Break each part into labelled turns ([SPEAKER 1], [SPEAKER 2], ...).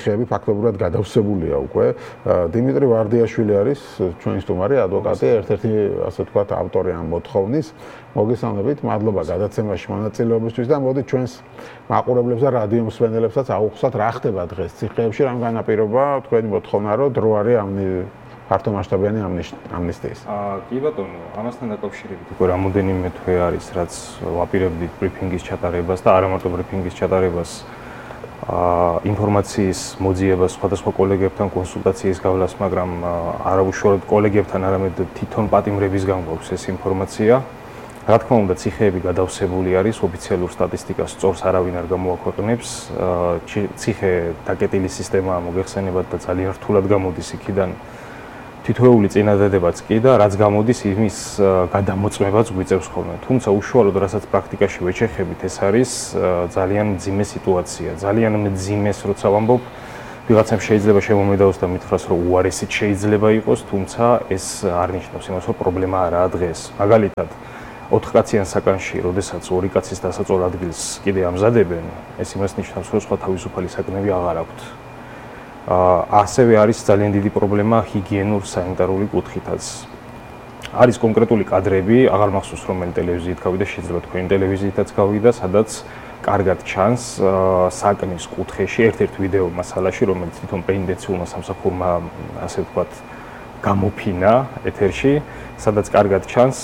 [SPEAKER 1] ციხეები ფაქტობრივად გადავსებულია უკვე. დიმიტრი ვარდიაშვილი არის ჩვენი სტუმარი, ადვოკატი, ერთ-ერთი ასე ვთქვათ ავტორი ამ მოთხოვნის. მოგესალმებით, მადლობა გადაცემაში მონაწილეობისთვის და მოდით ჩვენს მაყურებლებს და რადიო მსმენელებსაც აუხსნათ რა ხდება დღეს ციხეებში, რამ განაპირობა თქვენი მოთხოვნა, რომ დრო არის ამ ფართომასშტაბიანი ამნისტიის.
[SPEAKER 2] კი ბატონო, ამასთან დაკავშირებით უკვე რამოდენიმე თვე არის, რაც ვაპირებდით ბრიფინგის ჩატარებას და არა მარტო ბრიფინგის ჩატარებას, ინფორმაციის მოძიებას, სხვადასხვა კოლეგებთან კონსულტაციის გავლას, მაგრამ არა უშუალოდ კოლეგებთან, არამედ თვითონ პატიმრებისგან გვაქვს ეს ინფორმაცია. რა თქმა უნდა, ციხეები გადავსებული არის, ოფიციალურ სტატისტიკას სწორს არავინ არ გამოაქვეყნებს. ციხე დაკეტილი სისტემაა მოგეხსენებათ და ძალიან რთულად გამოდის იქიდან თითოეული წინადადებაც კი და რაც გამოდის იმის გადამოწმებაც გვიწევს ხოლმე. თუმცა უშუალოდ რასაც პრაქტიკაში ვეჩეხებით, ეს არის ძალიან მძიმე სიტუაცია. ძალიან მძიმეს როცა ვამბობ, ვიღაცამ შეიძლება შემომედაოს და მითხრას, რომ უარესით შეიძლება იყოს, თუმცა ეს არ ნიშნავს იმას, რომ პრობლემა არაა დღეს. მაგალითად, 4 კაციან საკანში, როდესაც 2 კაცის დასაწოლ ადგილს კიდე ამზადებენ, ეს იმას ნიშნავს, რომ სხვა თავისუფალი საკნები აღარ აქვთ. ასევე არის ძალიან დიდი პრობლემა ჰიგიენურ-სანიტარული კუთხითაც. არის კონკრეტული კადრები, აღარ მახსოვს რომელი ტელევიზიით გავიდა, შეიძლება თქვენი ტელევიზიითაც გავიდა, სადაც კარგად ჩანს საკნის კუთხეში ერთ-ერთ ვიდეო მასალაში, რომელიც თვითონ პენდენციულმა სამსახურმა, ასე ვთქვათ, გამოფინა ეთერში, სადაც კარგად ჩანს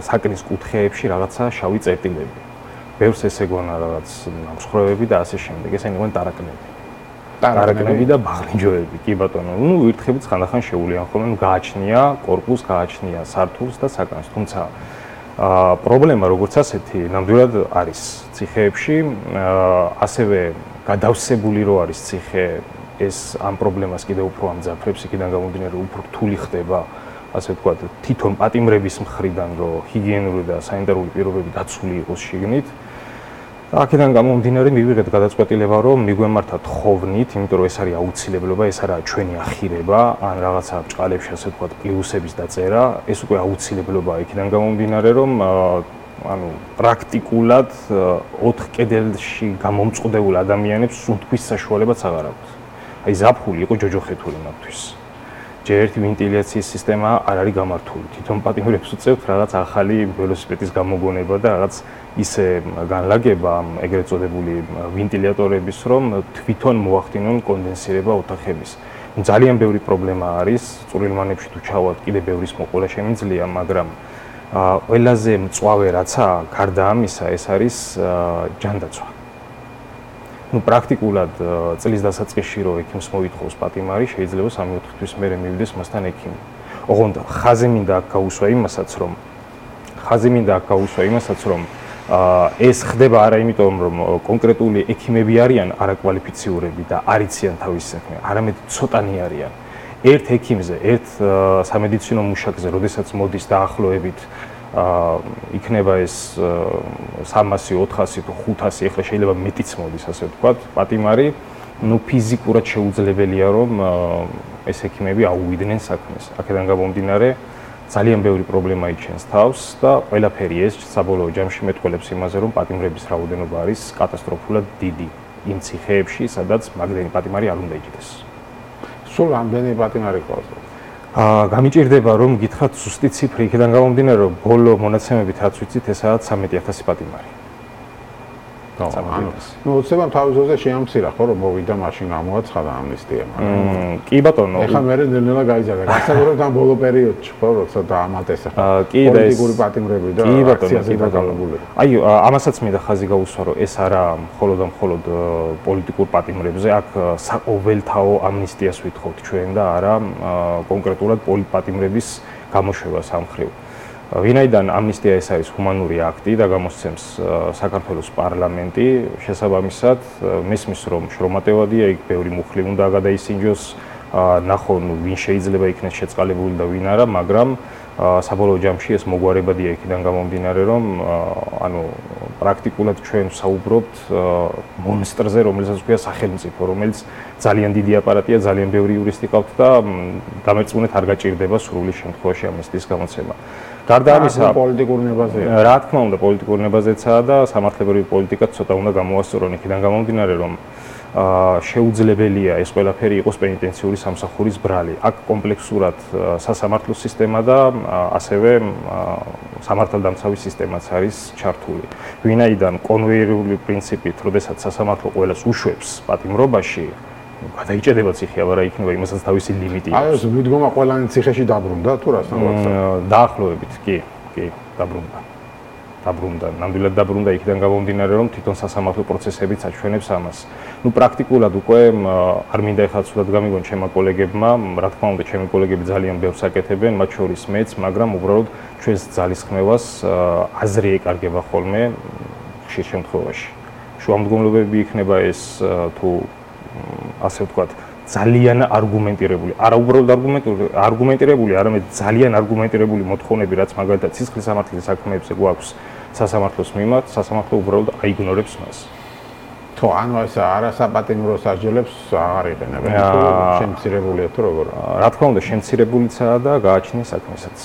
[SPEAKER 2] საკნის კუთხეებში რაღაცა შავი წერტილები. ბევრს ესეგონა რაღაც მსხრევები და ასე შემდეგ. ესენი იყვნენ ტარაკნები და ბაღლინჯოები, კი ბატონო. ნუ ვირთხებით ხანდახან შეუვლიან ხოლმე, გააჩნია კორპუსს, გააჩნია სართულს და საკანს. თუმცა პრობლემა როგორც ასეთი ნამდვილად არის ციხეებში, ასევე გადავსებული რო არის ციხე, ეს ამ პრობლემას კიდევ უფრო ამძაფრებს, იქიდან გამომდინარე უფრო რთული ხდება, ასე ვთქვათ, თვითონ პატიმრების მხრიდან, რომ ჰიგიენური და სანიტარული პირობები დაცული იყოს შიგნით. აქედან გამომდინარე მივიღეთ გადაწყვეტილება, რომ მიგვემართათ ხოვნით, იმიტომ რომ ეს არის აუცილებლობა, ეს არაა ჩვენი ახირება, ან რაღაცა ბჭყალებში, ასე ვთქვათ, პლუსების დაწერა, ეს უკვე აუცილებლობაა. იქიდან გამომდინარე, რომ პრაქტიკულად 4 კედელში გამომწყდებულ ადამიანებს სუნთქვის საშუალებაც აღარ აქვთ. აი ზაფხული იყო ჯოჯოხეთური მათთვის. ჯერ ერთი ვენტილაციის სისტემა არ არის გამართული. თვითონ პატიმრებს უწევთ რაღაც ახალი ველოსიპედის გამოგონება და რაღაც ისე განლაგება ეგრეთ წოდებული ვენტილატორების, რომ თვითონ მოახდინონ კონდენსირება ოთახების. ძალიან ბევრი პრობლემა არის, წვრილმანებში თუ ჩავალთ, კიდე ბევრის მოყოლა შემიძლია, მაგრამ ყველაზე მწვავე რაცა, გარდა ამისა, ეს არის ჯანდაცვა. პრაქტიკულად წლის დასაწყისში რო ექიმს მოითხოვს პატიმარი, შეიძლება 3-4 თვის მერე მივიდეს მასთან ექიმი. ოღონდ ხაზი მინდა აქ გაუსვა იმასაც, რომ ეს ხდება არა იმიტომ, რომ კონკრეტული ექიმები არიან არაკვალიფიციურები და არ იციან თავის საქმე, არამედ ცოტანი არიან. ერთ ექიმზე, ერთ სამედიცინო მუშაკზე, როდესაც მოდის დაახლოებით იქნება ეს 300, 400 თუ 500, ეხლა შეიძლება მეტიც მოდის, ასე ვთქვათ, პატიმარი, ნუ ფიზიკურად შეუძლებელია, რომ ეს ექიმები აუვიდნენ საქმეს. აქედან გამომდინარე, ძალიან ბევრი პრობლემა იჩენს თავს და ყველაფერი ეს საბოლოო ჯამში მეტყველებს იმაზე, რომ პატიმრების რაოდენობა არის კატასტროფულად დიდი იმ ციხეებში, სადაც მაგდენი პატიმარი არ უნდა იჭდეს.
[SPEAKER 1] სულ რამდენი პატიმარი ყავს?
[SPEAKER 2] გამიჭირდება რომ გითხრათ ზუსტი ციფრი, იქიდან გამომდინარე, რომ ბოლო მონაცემებით რაც ვიცით, ესაა 13,000 პატიმარი.
[SPEAKER 1] ნუ უცებამ თავის ძოზე შეამცირა ხო, რომ მოვიდა მაშინ გამოაცხადა ამნისტია, მაგრამ
[SPEAKER 2] კი ბატონო,
[SPEAKER 1] ეხლა მერე ნელ-ნელა გაიზარდა. გასაგებად ამ ბოლო პერიოდში ხო, როცა დაამატესა პოლიტიკური პატიმრები და აქციაზე დაკავებულები.
[SPEAKER 2] აი, ამასაც მინდა ხაზი გაუსვა, რომ ეს არა მხოლოდ და მხოლოდ პოლიტიკურ პატიმრებზე, აქ საყოველთაო ამნისტიას ვითხოვთ ჩვენ და არა კონკრეტულად პოლიტპატიმრების გამოშვებას ამ მხრივ. ვინაიდან ამნისტია ეს არის ჰუმანური აქტი და გამოსცემს საქართველოს პარლამენტი, შესაბამისად მესმის რომ შრომატევადია, იქ ბევრი მუხლი უნდა გადაისინჯოს, ნახონ ვინ შეიძლება იქნეს შეწყალებული და ვინ არა, მაგრამ საბოლოო ჯამში ეს მოგვარებადია იქიდან გამომდინარე, რომ პრაქტიკულად ჩვენ საუბრობთ მონსტრზე, რომელსაც ქვია სახელმწიფო, რომელიც ძალიან დიდი აპარატია, ძალიან ბევრი იურისტი ყავთ და დამერწმუნეთ არ გაჭირდება სრული შემთხვევაში ამნისტიის გამოცემა. გარდა ამისა,
[SPEAKER 1] პოლიტიკურ ნებაზეა.
[SPEAKER 2] რა თქმა უნდა, პოლიტიკურ ნებაზეცაა და სამართლებრივი პოლიტიკაც ცოტა უნდა გამოასწორონ იქიდან გამომდინარე, რომ შეუძლებელია ეს ყველაფერი იყოს პენიტენციური სამსახურის ბრალი. აქ კომპლექსურად სასამართლო სისტემა და ასევე სამართალდამცავი სისტემაც არის ჩართული. ვინაიდან კონვეიერული პრინციპით, როდესაც სასამართლო ყველას უშვებს პატიმრობაში, გადაიჭედება ციხე, აბარა იქნება იმასაც თავისი ლიმიტი.
[SPEAKER 1] აი ეს მიდგომა ყველანი ციხეში დაბრუნდა თუ რას ნავაცა?
[SPEAKER 2] დაახლოებით, კი, დაბრუნდა. ნამდვილად დაბრუნდა იქიდან გამომდინარე, რომ თვითონ სასამართლო პროცესებიც აჩვენებს ამას. პრაქტიკულად უკვე არ მინდა ეხლა ცუდად გამიგონ ჩემმა კოლეგებმა, რა თქმა უნდა, ჩემი კოლეგები ძალიან ბევრს აკეთებენ, მათ შორის მეც, მაგრამ უბრალოდ ჩვენს ძალისხმევას აზრი ეკარგება ხოლმე ხშირ შემთხვევაში. შუამდგომლობები იქნება ეს თუ ასე ვთქვათ, ძალიან არგუმენტირებული, არა უბრალოდ არგუმენტირებული, არამედ ძალიან არგუმენტირებული მოთხოვნები, რაც მაგალითად სისხლის სამართლის საქმეებზე გვაქვს სასამართლოს მიმართ, სასამართლო უბრალოდ აიგნორებს მას.
[SPEAKER 1] თუ ანუ ეს არასაპატიმრო სასჯელებს აღარ იყენებენ, თუ შემცირებულია თუ როგორ?
[SPEAKER 2] რა თქმა უნდა, შემცირებულიცაა და გააჩნია საქმესაც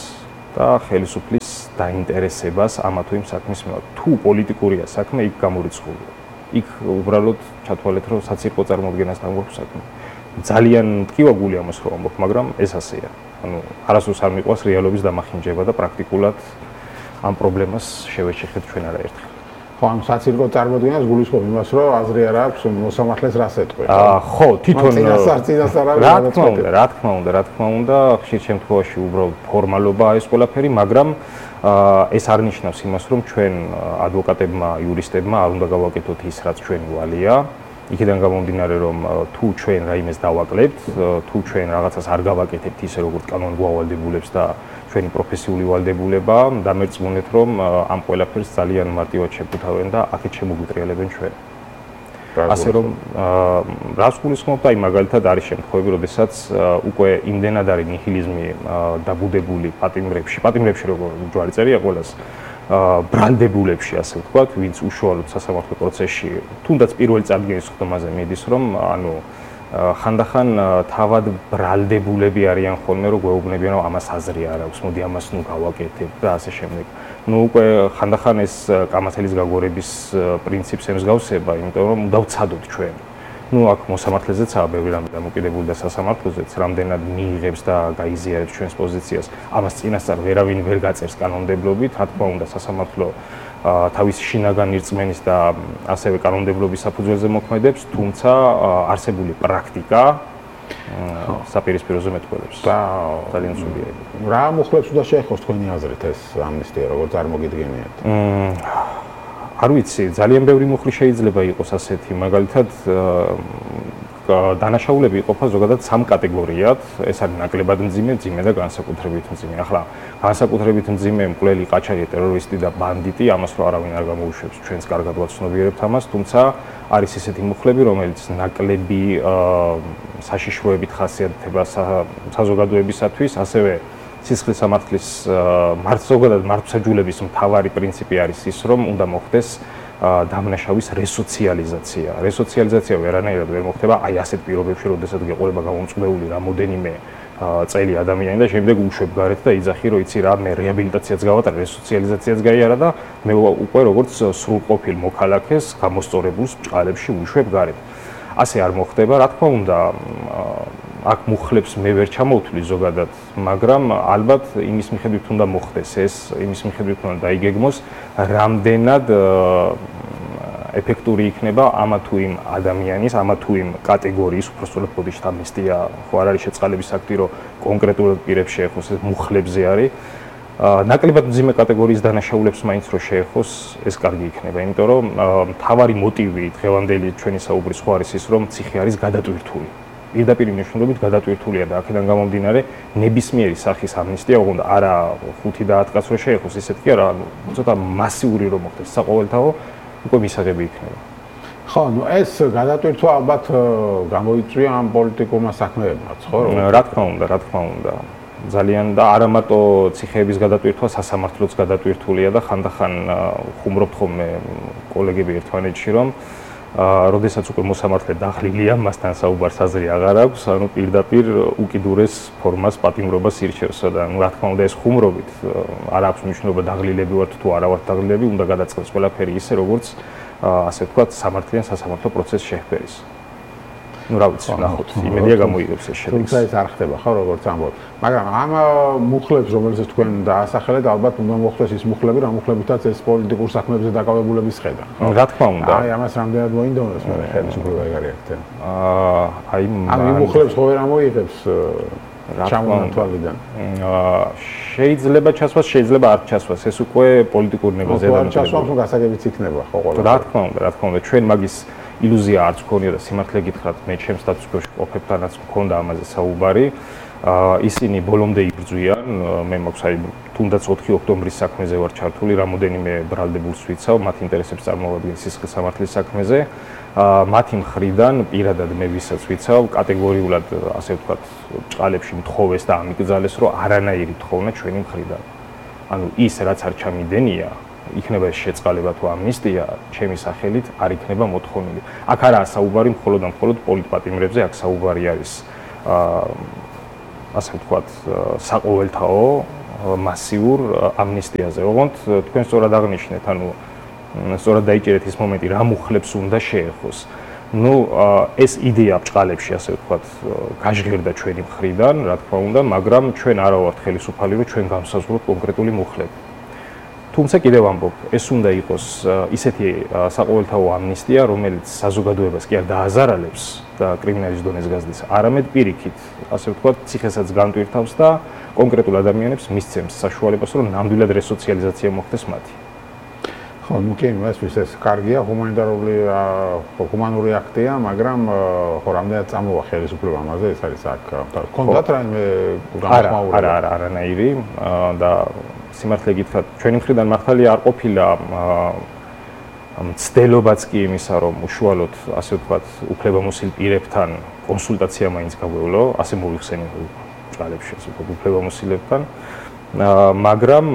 [SPEAKER 2] და ხელისუფლის დაინტერესებას ამა თუ იმ საქმის მიმართ. თუ პოლიტიკურია საქმე, იქ გამორიცხულია. იქ უბრალოდ ჩათვალეთ, რომ საცირკო წარმოადგენასთან გვაქვს საქმე. ძალიან მტკივაგული ამას რო ამბობ, მაგრამ ეს ასეა. ანუ არასდროს არ მიყვას რეალობის დამახინჯება და პრაქტიკულად ამ პრობლემას შევეჩეხეთ ჩვენ არაერთხელ.
[SPEAKER 1] ხო, ამ საცირკო წარმოდგენას გულისხმობ იმას, რომ აზრი არ აქვს მოსამართლეს რას ეტყვი.
[SPEAKER 2] ხო, თვითონ
[SPEAKER 1] წინასწარ
[SPEAKER 2] რა თქმა უნდა, ხშირ შემთხვევაში უბრალოდ ფორმალობაა ეს ყველაფერი, მაგრამ ეს არ ნიშნავს იმას, რომ ჩვენ ადვოკატებმა, იურისტებმა არ უნდა გავაკეთოთ ის, რაც ჩვენი ვალია. იქიდან გამომდინარე, რომ თუ ჩვენ რაიმეს დავაკლებთ, თუ ჩვენ რაღაცას არ გავაკეთებთ ისე, როგორც კანონი გვავალდებულებს და ჩვენი პროფესიული ვალდებულება, დამერწმუნეთ, რომ ამ ყველაფერს ძალიან მარტივად შეფუთავენ და აქეთ შემოგვიტრიალებენ ჩვენ. ასე რომ რას გულისხმობთ, აი მაგალითად არის შემთხვევები, როდესაც უკვე იმდენად არის ნიჰილიზმი დაბუდებული პატიმრებში როგორ ჯვარი წერია ყველას ბრალდებულებში, ასე ვთქვათ, ვინც უშუალოდ სასამართლო პროცესში, თუნდაც პირველი წარდგენის ხდომაზე მიდის, რომ ანუ ხანდახან თავად ბრალდებულები არიან ხოლმე, რომ გვეუბნებიან, რომ ამას აზრი არ აქვს, მოდი ამას ნუ გავაკეთებ და ასე შემდეგ. უკვე ხანდახან ეს კამათელის გაგორების პრინციპს ემსგავსება, იმიტომ რომ დავცადოთ ჩვენ. აქ მოსამართლეზეცაა ბევრი რამე დამოკიდებული და სასამართლოზეც რამდენად მიიღებს და გაიზიარებს ჩვენს პოზიციას. ამას წინასწარ ვერავინ ვერ გაწერს კანონმდებლობით, რა თქმა უნდა, სასამართლო თავის შინაგან რწმენის და ასევე კანონმდებლობის საფუძველზე მოქმედებს, თუმცა არსებული პრაქტიკა საპირისპიროზე მეტყველებს. ძალიან სულია.
[SPEAKER 1] რა მოხლებს უნდა შეეხოს თქვენი აზრით ეს ამნისტია, როგორც არ მოგიდგენიათ?
[SPEAKER 2] არ ვიცი, ძალიან ბევრი მუხლი შეიძლება იყოს ასეთი, მაგალითად დანაშაულები იყოფა ზოგადად სამ კატეგორიად, ეს არის ნაკლებად მძიმე და განსაკუთრებით მძიმე. ახლა განსაკუთრებით მძიმე მკვლელი, ყაჩაღი, ტერორისტი და ბანდიტი, ამას რო არავინ არ გამოუშვებს, ჩვენს კარგად ვაცნობიერებთ ამას, თუმცა არის ისეთი მუხლები, რომელიც ნაკლები საშიშროებით ხასიათდება საზოგადოებისათვის, ასევე სისხლის სამართლის ზოგადად მართლმსაჯულების მთავარი პრინციპი არის ის, რომ უნდა მოხდეს დამნაშავის რესოციალიზაცია. რესოციალიზაცია ვერანაირად ვერ მოხდება აი ასეთ პირობებში, როდესაც გეყოლება გამომწყვდეული რამოდენიმე წელი ადამიანი და შემდეგ უშვებ გარეთ და იძახი, რომ იცი რა, მე რეაბილიტაციაც გავატარე, რესოციალიზაციაც გაიარა და მე უკვე როგორც სრულყოფილ მოქალაქეს გამოსწორებულს ბჭყალებში უშვებ გარეთ. ასე არ მოხდება, რა თქმა უნდა, აქ მუხლებს მე ვერ ჩამოვთვლი ზოგადად, მაგრამ ალბათ იმის მიხედვით უნდა მოხდეს ეს, იმის მიხედვით უნდა დაიგეგმოს, რამდენად ეფექტური იქნება ამა თუ იმ ადამიანის, ამა თუ იმ კატეგორიის, უბრალოდ ბოდიშ ამნისტია, ხო არ არის შეწყალების აქტი, რომ კონკრეტულად პირებს შეეხოს, ეს მუხლებზე არის. ნაკლებად მძიმე კატეგორიის დანაშაულებს მაინც რო შეეხოს, ეს კარგი იქნება, იმიტომ რომ მთავარი მოტივი დღევანდელი ჩვენი საუბრის ხო არის ის, რომ ციხე არის გადატვირთული. პირდაპირ მნიშვნელობით გადატვირთულია და აქედან გამომდინარე ნებისმიერი სახის ამნისტია, ოღონდ არა 5 და 10 კაცს რო შეეხოს, ისეთ კი არა, ცოტა მასიური რომ მოხდეს საყოველთაო, უკვე მისაღები იქნება.
[SPEAKER 1] ხო, ეს გადატვირთვა ალბათ გამოიწვია ამ პოლიტიკურმა საქმეებმაც, ხო?
[SPEAKER 2] რა თქმა უნდა. ძალიან და არა მარტო ციხეების გადატვირთვა, სასამართლოც გადატვირთულია და ხანდახან ხუმრობთ ხოლმე კოლეგები ერთმანეთში, რომ როდესაც უკვე მოსამართლე დაღლილია, მასთან საუბარს აზრი აღარ აქვს, ანუ პირდაპირ უკიდურეს ფორმას პატიმრობას ირჩევს და რა თქმა უნდა ეს ხუმრობით არ აქვს მნიშვნელობა დაღლილები ვართ თუ არა ვართ დაღლილები, უნდა გადაწყდეს ყველაფერი ისე, როგორც ასე ვთქვათ, სამართლიან სასამართლო პროცესს შეჰპერის. ну რა ვიცი, ნახოთ, იმედია გამოიგებს ეს შედეგს.
[SPEAKER 1] თუმცა ეს არ ხდება ხო, როგორც ამბობ. მაგრამ ამ მუხლებს, რომელსაც თქვენ დაასახელეთ, ალბათ უნდა მოხდეს ის მუხლები, რა მუხლებითაც ეს პოლიტიკურ საქმეებზე დაკავებულების ხედა.
[SPEAKER 2] რა თქმა უნდა.
[SPEAKER 1] აი, ამას რამდენად მოინდომებს მე ხელისუფლება ეგარი აქცენტი.
[SPEAKER 2] აი,
[SPEAKER 1] ამ მუხლებს ხო ვერ ამოიღებს ჩამონათვალიდან.
[SPEAKER 2] შეიძლება ჩასვას, შეიძლება არ ჩასვას. ეს უკვე პოლიტიკური ნეგოციაცია.
[SPEAKER 1] არ ჩასვას, ნუ გასაგებიც იქნება ხო ყველა.
[SPEAKER 2] რა თქმა უნდა, ჩვენ მაგის ილუზია არც გქონია და სიმართლე გითხრათ, მე ჩემს სტატუსკოში ყოფებთანაც მქონდა ამაზე საუბარი. ისინი ბოლომდე იბრძვიან, მე მაქვს აი თუნდაც 4 ოქტომბრის საქმეზე ვარ ჩართული, რამოდენიმე ბრალდებულს ვიცავ, მათ ინტერესებს წარმოადგენს სისხლის სამართლის საქმეზე. მათი მხრიდან პირადად მე ვისაც ვიცავ, კატეგორიულად ასე ვთქვათ, ჭყალებში მთხოვეს და ამიკრძალეს, რომ არანაირი თხოვნა ჩვენი მხრიდან. ანუ ის რაც არ ჩამიდენია, იქნება ეს შეწყალება თუ ამნისტია, ჩემი სახელით არ იქნება მოთხოვნილი. აქ არაა საუბარი მხოლოდ და მხოლოდ პოლიტპატიმრებზე, აქ საუბარი არის ასე ვთქვათ, საყოველთაო მასიურ ამნისტიაზე. ოღონდ თქვენ სწორად აღნიშნეთ, ანუ სწორად დაიჭერეთ ის მომენტი, რა მუხლებს უნდა შეეხოს. ну, ეს იდეა ბჭყალებში, ასე ვთქვათ, გაჟღერდა ჩვენი მხრიდან, რა თქმა უნდა, მაგრამ ჩვენ არა ვართ ხელისუფალი, რომ ჩვენ განსაზღვროთ კონკრეტული მუხლები. თუმცა კიდევ ამბობ, ეს უნდა იყოს ისეთი საყოველთაო ამნისტია, რომელიც საზოგადოებას კი არ დააზარალებს და კრიმინალის დონეს გაზრდის, არამედ პირიქით, ასე ვთქვათ, ციხესაც განტვირთავს და კონკრეტულ ადამიანებს მისცემს საშუალებას, რომ ნამდვილად რესოციალიზაცია მოხდეს მათი.
[SPEAKER 1] ხო, ну კი, ეს კარგია, ჰუმანური აქტია, მაგრამ ხო, რამდენად წამოვა ხელისუფლება ამაზე, ეს არის აქ. კონდათ რაიმე განსხვავება?
[SPEAKER 2] არა, არანაირი და სიმართლე გითხრათ, ჩვენი მხრიდან მართალია არ ყოფილა მცდელობაც კი იმისა, რომ უშუალოდ, ასე ვთქვათ, უფლებამოსილ პირებთან კონსულტაცია მაინც გაგვევლო, ასე მოვიხსენე ბჭყალებში, ასე ვთქვათ, უფლებამოსილებთან. მაგრამ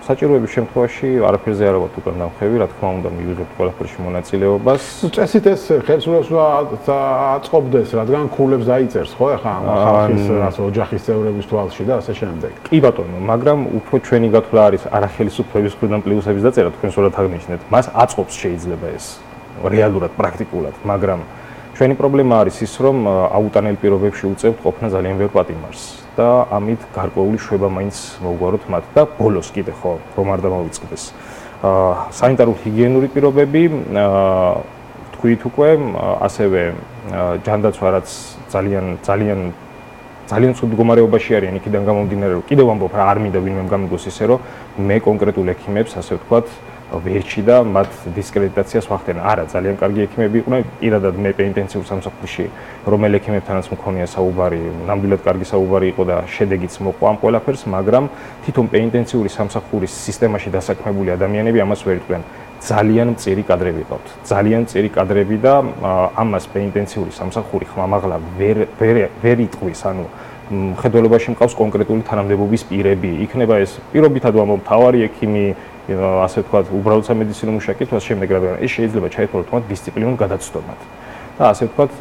[SPEAKER 2] საჭიროების შემთხვევაში არაფერზე არ ვარ უკან დამხევი, რა თქმა უნდა, მივიღებთ ყველაფერში მონაწილეობას.
[SPEAKER 1] ну წესით ეს ხელისუფლებას აწყობდეს, რადგან ქულებს დაიწერს, ხო, ახლა ხალხის ასე ოჯახის წევრების თვალში და ასე შემდეგ.
[SPEAKER 2] კი ბატონო, მაგრამ უფრო ჩვენი გათვლა არის არა ხელისუფლების მხრიდან პლუსების დაწერა, თქვენ სწორად აღნიშნეთ. მას აწყობს შეიძლება ეს რეალურად, პრაქტიკულად, მაგრამ ჩვენი პრობლემა არის ის, რომ აუტანელ პირობებში უწევთ ყოფნა ძალიან ბევრ პატიმარს. და ამით გარკვეული შვება მაინც მოუგვაროთ მათ და ბოლოს კიდე ხო რომ არ დამოვიწყდეს. სანიტარულ-ჰიგიენური პირობები თქვით უკვე, ასევე ჯანდაცვა რაც ძალიან ცუდ მდგომარეობაში არიან, იქიდან გამომდინარე, რომ კიდევ ამბობ რა არ მინდა ვინმე გამიგოს ისე, რომ მე კონკრეტულ ექიმებს, ასე ვთქვათ, ვერჩი და მათ დისკრედიტაციას ვახდენა. არა, ძალიან კარგი ექიმები იყვნენ, პირადად მე პენიტენციურ სამსახურში, რომელ ექიმებთანაც მქონია საუბარი, ნამდვილად კარგი საუბარი იყო და შედეგიც მოყვა ამ ყველაფერს, მაგრამ თვითონ პენიტენციური სამსახურის სისტემაში დასაქმებული ადამიანები ამას ვერ იყვნენ. ძალიან მწირი კადრები ყავთ. ძალიან მწირი კადრები და ამას პენიტენციური სამსახური ხმამაღლა ვერ იტყვის, ანუ მხედველობაში მყავს კონკრეტული თანამდებობის პირები. იქნება ეს პირობითად ვამბობ, მთავარი ექიმი, ასე ვთქვათ, უბრალოდ სამედიცინო მუშაკი, თვას შემდეგ რადგან ეს შეიძლება ჩაითვალოს თუმცა დისციპლინურ გადაცდომად. და ასე ვთქვათ,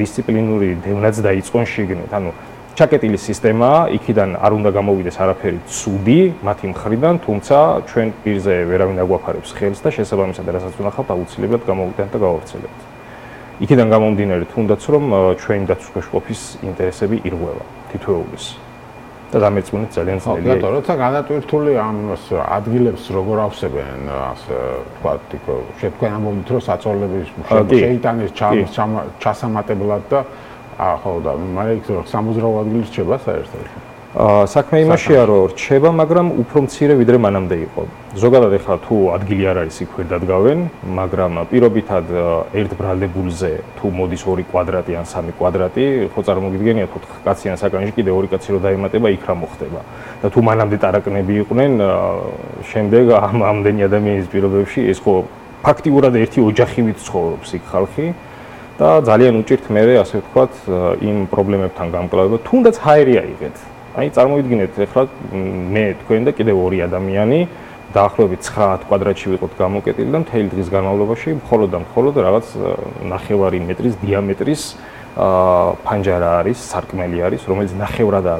[SPEAKER 2] დისციპლინური დევნაც დაიწყონ შიგნით. ანუ ჩაკეტილი სისტემაა, იქიდან არ უნდა გამოვიდეს არაფერი ცუდი მათი მხრიდან, თუმცა ჩვენ პირზე ვერავინ აგვაფარებს ხელს და შესაბამისად რასაც ვნახავთ, აუცილებლად გამოვიდეთ და გავავრცელებთ. იქიდან გამომდინარე, თუნდაც რომ ჩვენი დაცვის ყოფის ინტერესები ირღვევა თითოეულის. და დამერწმუნეთ ძალიან ძნელია.
[SPEAKER 1] ხო, როცა განატვირთული ამ ადგილებს როგორ ავსებენ, ასე ვთქვათ, თქვენ ამბობთ, რომ საწოლების შეიტანეს ჩასამატებლად და ხო და მაგრამ იქ სამოძრაო ადგილი რჩება საერთოდ.
[SPEAKER 2] საქმე იმაშია, რომ რჩება, მაგრამ უფრო მცირე ვიდრე მანამდე იყო. ზოგადად ახლა თუ ადგილი არ არის, იქ ვერ დადგავენ, მაგრამ პირობითად ერთ ბრალდებულზე თუ მოდის 2 კვადრატი ან 3 კვადრატი, ხო წარმოგიდგენიათ 4 კაციან საკანში კიდე 2 კაცი რო დაემატება, იქ რა მოხდება. და თუ მანამდე ტარაკნები იყვნენ, შემდეგ ამდენი ადამიანის პირობებში ეს ხო ფაქტიურად ერთი ოჯახივით ცხოვრობს იქ ხალხი. და ძალიან უჭირთ მე, ასე ვთქვათ, იმ პრობლემებთან გამკლავება, თუნდაც ჰაერი აიღეთ. აი წარმოვიდგინეთ, ახლა მე თქვენ და კიდევ 2 ადამიანი დაახლოებით 9 კვადრატში ვიყოთ გამოკეტილი და მთელი დღის განმავლობაში მხოლოდ და მხოლოდ რაღაც 9 მეტრის დიამეტრის ფანჯარა არის, სარკმელი არის, რომელიც ნახევრადაა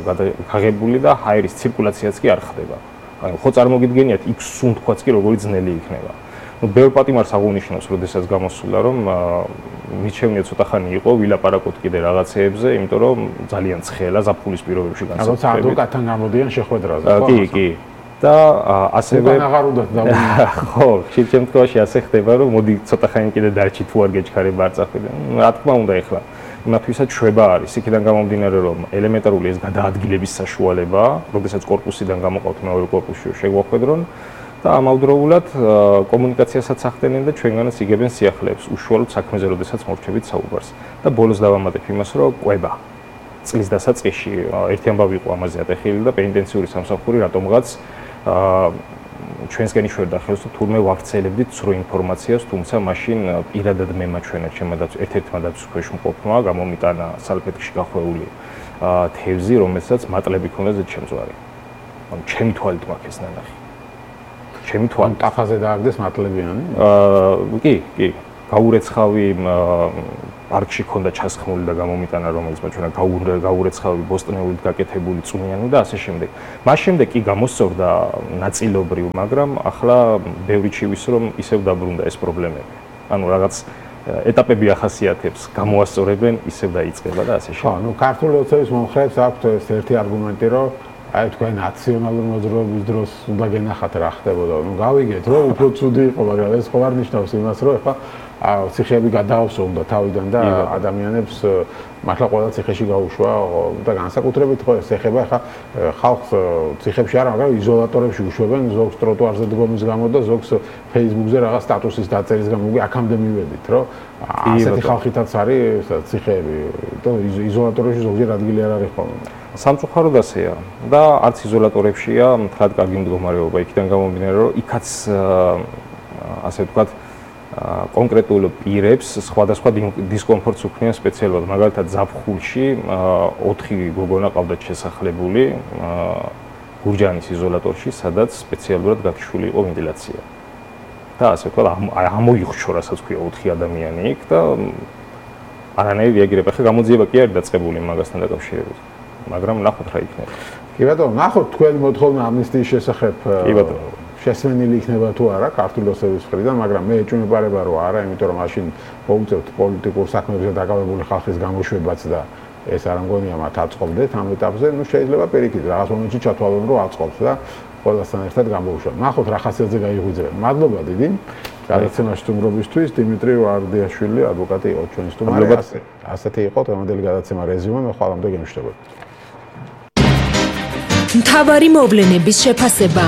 [SPEAKER 2] გაღებული და ჰაერის ცირკულაციაც კი არ ხდება. ანუ ხო წარმოგიდგენიათ, იქ სუნთქვაც კი როგორი ძნელი იქნება. ნუ ბევრ პატიმარს აღუნიშნავს, როდესაც გამოსულა, რომ მის შევნია ცოტა ხანი იყო, ვილაპარაკოთ კიდე რაღაცეებზე, იმიტომ რომ ძალიან ცხელა ზაფხულის პირობებში განსაკუთრებით.
[SPEAKER 1] როცა ადვოკატთან გამოდიან შეხვედრაზე, ხო?
[SPEAKER 2] კი. და ასევე
[SPEAKER 1] აღარ უნდა დავუნა.
[SPEAKER 2] ხო, ხშირ შემთხვევაში ასე ხდება, რომ მოდი ცოტა ხანი კიდე დარჩი თუ არ გეჩქარება არ წახვიდე. რა თქმა უნდა, ეხლა იმათვისაც შვება არის, იქიდან გამომდინარე, რომ ელემენტარული ეს გადაადგილების საშუალება, როდესაც კორპუსიდან გამოყავთ მეორე კორპუსში შეგვახვედრონ და ამავდროულად კომუნიკაციასაც ახდენენ და ჩვენგანაც იგებენ სიახლეებს, უშუალოდ საქმეზე, როდესაც მორჩებით საუბარს. და ბოლოს დავამატებ იმას, რომ ყვება წლის დასაწყისში ერთი ამბავი იყო ამაზე ატეხილი და პენიტენციური სამსახური რატომღაც ჩვენსკენ იშვერდა ხელს, თურმე ვავრცელებდით ცრუ ინფორმაციას, თუმცა მაშინ პირადად მე მაჩვენა ჩემმა ერთ-ერთმა დაცვის ქვეშ მყოფმა გამომიტანა სალფეტკში გახვეული თევზი, რომელსაც მატლები ჰქონდა ზედჩემწვარი. ანუ ჩემი თვალით მაქვს ეს ნანახი. ჩემი თვალით
[SPEAKER 1] ტაფაზე დააგდეს მატლებიანი?
[SPEAKER 2] კი. გაურეცხავი პარკში ჰქონდა ჩასხმული და გამომიტანა, რომელიც მაჩვენა გაურეცხავი ბოსტნეულით გაკეთებული წვნიანი და ასე შემდეგ. მას შემდეგ კი გამოსწორდა ნაწილობრივ, მაგრამ ახლა ბევრი ჩივის რომ ისევ დაბრუნდა ეს პრობლემები. ანუ რაღაც ეტაპები ახასიათებს, გამოასწორებენ, ისევ დაიწყება და ასე შემდეგ.
[SPEAKER 1] ხო, ნუ ქართული ოცნების მომხრეებს აქვთ ეს ერთი არგუმენტი, რომ აი თქვენ ნაციონალური მოძრაობის დროს უნდა გენახათ რა ხდებოდა. ნუ გავიგეთ, რომ უფრო ცუდი იყო, მაგრამ ეს ხო არ ნიშნავს იმას, რომ ეხლა ციხეები გადაავსო უნდა თავიდან და ადამიანებს მართლა ყველა ციხეში გაუშვა და განსაკუთრებით ხო ეს ეხება ახლა ხალხს ციხეებში არა, მაგრამ იზოლატორებში უშვებენ, ზოგს ტროტუარზე დგომის გამო და ზოგს Facebook-ზე რაღაც სტატუსის დაწერის გამო. აქამდე მივედით, რომ ასეთი ხალხითაც არის ციხეები და იზოლატორებში ზოგჯერ ადგილი არ არის ხოლმე.
[SPEAKER 2] სამწუხაროდ ასეა და არც იზოლატორებშია მთლად კარგი მდგომარეობა, იქიდან გამომდინარე, რომ იქაც ასე ვთქვათ კონკრეტულ პირებს სხვადასხვა დისკომფორტს უქმნიან სპეციალურად. მაგალითად, ზაფხულში 4 გოგონა ყავდათ შესახლებული გურჯაანის იზოლატორში, სადაც სპეციალურად გაქშული იყო ვენტილაცია. და ასე ვთქვათ, ამოიხშო, რასაც ქვია 4 ადამიანი იქ და არანაირი რეაგირება. ხა გამოძიება კი არის დაწყებული მაგასთან დაკავშირებით. მაგრამ ნახოთ რა იქნება.
[SPEAKER 1] კი ბატონო, ნახოთ თქვენი მოთხოვნა ამნისტიის შესახებ.
[SPEAKER 2] კი ბატონო.
[SPEAKER 1] შესვენილი იქნება თუ არა ქართული ოცნების მხრიდან, მაგრამ მე ეჭვმეპარება რომ არა, იმიტომ რომ მაშინ მოუწევთ პოლიტიკურ საქმეებზე დაკავებული ხალხის გამოშვებაც და ეს არ მგონია მათ აწყობდეთ ამ ეტაპზე. ნუ შეიძლება პირიქით რაღაც მომენტში ჩათვალონ რომ აწყობს და ყველასთან ერთად გამოუშვათ. ნახოთ რა ხასიათზე გაიღვიძებენ. მადლობა დიდი გადაცემაში სტუმრობისთვის. დიმიტრი ვარდიაშვილი, ადვოკატი იყო ჩვენი სტუმარი. ასეთი იყო დღევანდელი გადაცემა რეზიუმე. მე ხვალამდე გემშვიდობებით.
[SPEAKER 3] მთავარი მოვლენების შეფასება,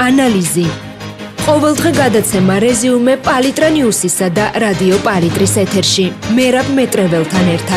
[SPEAKER 3] ანალიზი. ყოველდღე გადაცემა რეზიუმე პალიტრა ნიუსისა და რადიო პალიტრის ეთერში. მერაბ მეტრეველთან ერთად.